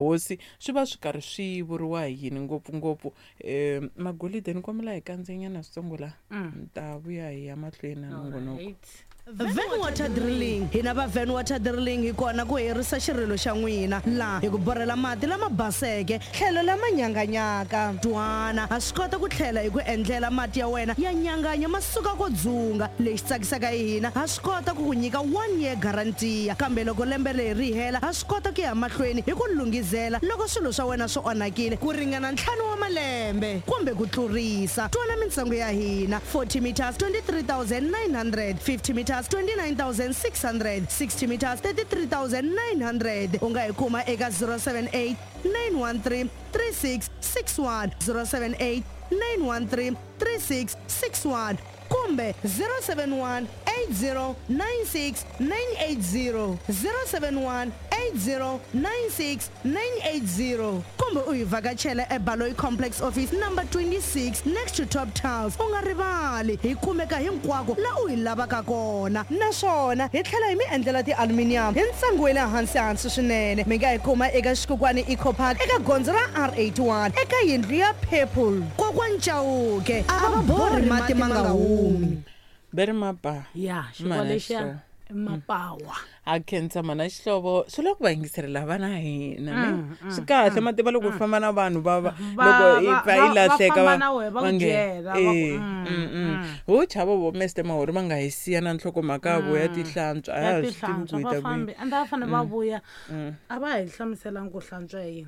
Hosi swi va swi karhi swi vuriwa hi yini ngopfungopfu Magolide ni kombela hi kandzenyana switsongo la ni ta vuya hi ya mahlweni na nongonoko. Alright. Van Water Drilling. Hina va Van Water Drilling hi kona ku herisa xirilo xa n'wina laha hi ku borhela mati lama baseke tlhelo lama nyanganyaka. Twana, ha swi kota ku tlhela hi ku endlela mati ya wena ya nyanganya ma suka ko dzunga. Lexi tsakisaka hi hina, ha swi kota ku ku nyika one year guarantee kambe loko lembe leri ri hela ha swi kota ku ya mahlweni hi ku lunghizela loko swilo swa wena swi onhakile ku ringana ntlhanu wa malembe kumbe ku tlurisa. Twana mintsengo ya hina, 40 meters 23,900, 50 meters 29,600, 60 meters 33,900. U nga hi kuma eka 078 913 3661, 078 913 3661 kumbe 071 8096 980, 071 8096 980 kumbe u hi vhakachela eBaloyi Complex Office number 26 next to Top Tiles. U nga rivali, hi kumeka hinkwako la u hi lavaka kona naswona hi tlhela hi mi endlela ti-aluminium hi ntsengo wa le hansi hansi swinene. Mi nga hi kuma eka Xikukwani Eco Park eka gondzo ra R81 eka yindlu ya Purple. Kokwani Chauke a va borhi mati ma nga humi. Ve ri mapa. Ya xikolo Mana lexiya Xihlovo. i mapawa. Ha khensa mana Xihlovo, swi lava ku va yingiselela vana hina ne swi kahle ma tiva loko u famba na vanhu va va loko i pfa i va lahleka famba va na wehe va ku nge byela, va ku, eh ho chava vo Mr Mahori va nga hi siya na nhlokomhaka ya vo ya tihlantswa a Ya ya ha swi tivi ku tihlantswa hi va ta fambi kwihi. ende va fanele va vuya a va hi hlamuselangi ku hlantswa yini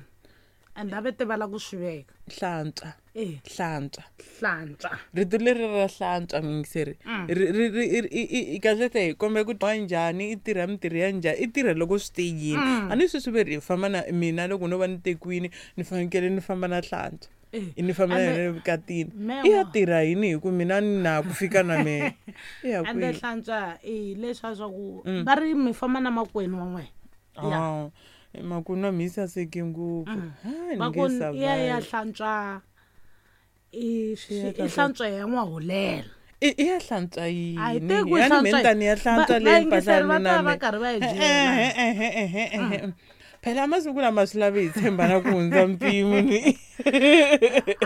and a va tivala ku swi veka. Hlantswa. Eh. Hlantswa. Hlantswa. Rito leri ra hlantswa muyingiseri ri ri ri i i kahlekahle hi kombe ku wa njhani i tirha mintirho ya njhani i tirha loko swi te yini a ni sweswi ve ri hi famba na mina loko no va ni tekiwini ni fanekele ni famba na hlantswa Eh. ni famba na Ande- yena evukatini Mewa. i ya tirha yini hi ku mina ni na ku fika na mehe i ya Ende kwihi hlantswa i leswiya swa ku va ri mi famba na makwenu wa n'wina. Ya. Ah, makwenu wa mina i saseke ngopfu ha ni Va nge ku i ya ya survive hlantswa i Ya i hlantswa. hlantswa ya n'wahulela. I ya hlantswa A hi yini tivi ku ya ni hlantswa mina ni ya hlantswa Va leyi mpahla vayingiseri ya va mina ta va me karhi va hi byela. ehe phela masiku lama swi lavi hi tshembana ku hundza mpimo ni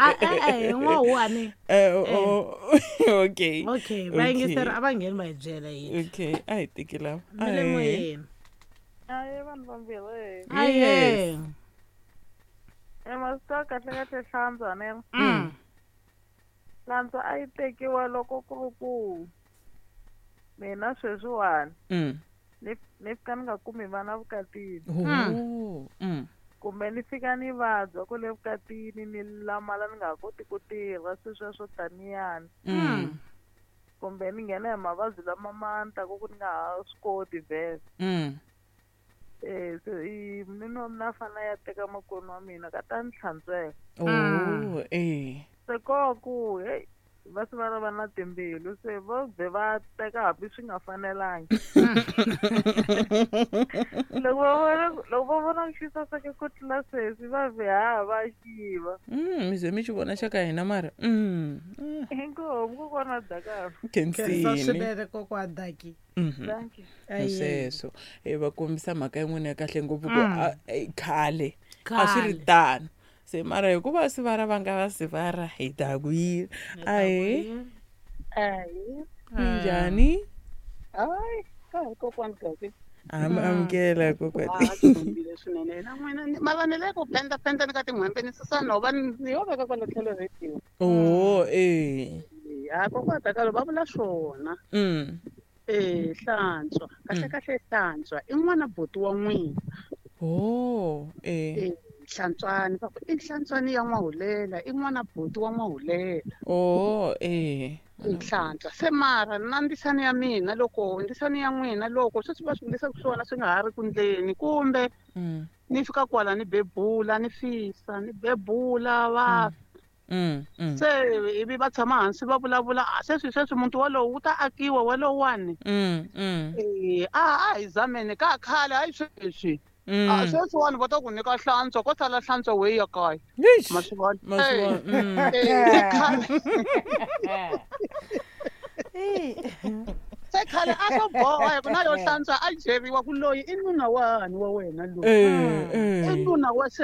A e-e hi n'wahuwani. Eh, oh, okay. Okay, vayingiseri a va ngheni va hi byela yini. Okay, a hi teki lava. Mi le moyeni. Aye vanhu vambirhi. Aye. E masiku ya kahle kahle hlantswa ne. Hlantswa a yi tekiwa loko ku ri ku mina sweswiwani ni ni fika ni nga kumi vana vukatini Oh. kumbe ni fika ni vabya kwale vukatini ni lamala ni nga ha koti ku tirha sweswiya swo taniyani kumbe ni nghena hi mavabyi lama ma ni ku ni nga ha swi koti vhele. Eh se i nuna wa mina a fanele a ya teka makwenu wa mina ka ta ni hlantswela. Oh, eh. Se ko ku heyi va se va ri va na timbilu se vo ze va teka hambi swi nga fanelangi. Loko va vona loko va vona ku xi saseke ku tlula sweswi va vhe ha va xiva. Mi ze mi xi vona xa ka hina mara. Inkomu kokwana Dakar. Khensa Khensini. swinene kokwana Daki. Thank you. Hi sweswo e va kombisa mhaka yin'wana ya kahle ngopfu ku khale a swi ri Khale. tano se mara hikuva sivara va nga va sivara hi ta ku yini ahe Ayi. minjhani Hayi, ka hi kokwani Gabi. amukela kokwani Ah, tikombile swinene na n'wina mara ni le ku penda penda ni ka tin'hwembe ni susa nhova ni yo veka kwala tlhelo rediyo. oh eh Ha kokwana Dakalo va vula swona. Eh hlantswa, kahle kahle hlantswa i n'wana buti wa n'wina. Oh eh Eh hlantswani va ku i hlantswani ya n'wahulela i n'wana buti wa n'wahulela. Oh eh I hlantswa se mara na ndzisani ya mina loko ndzisani ya n'wina loko sweswi va swi endlisaka swona swi nga ha ri ku ndleni kumbe ni fika kwala ni bebula ni fisa ni bebula va se ivi va tshama hansi va vulavula a sweswi sweswi muti walowu wu ta akiwa walowani eh a hi zameni ka khale hayi sweswi a sweswiwani va ta ku nyika hlantswa ko sala hlantswa weyi ya kaya ma swi vona Ma swi vona, Eh, se khale Se khale a swo boha hi ku na yo hlantswa a byeriwa ku loyi i nuna wani wa wena loyi. I nuna wa.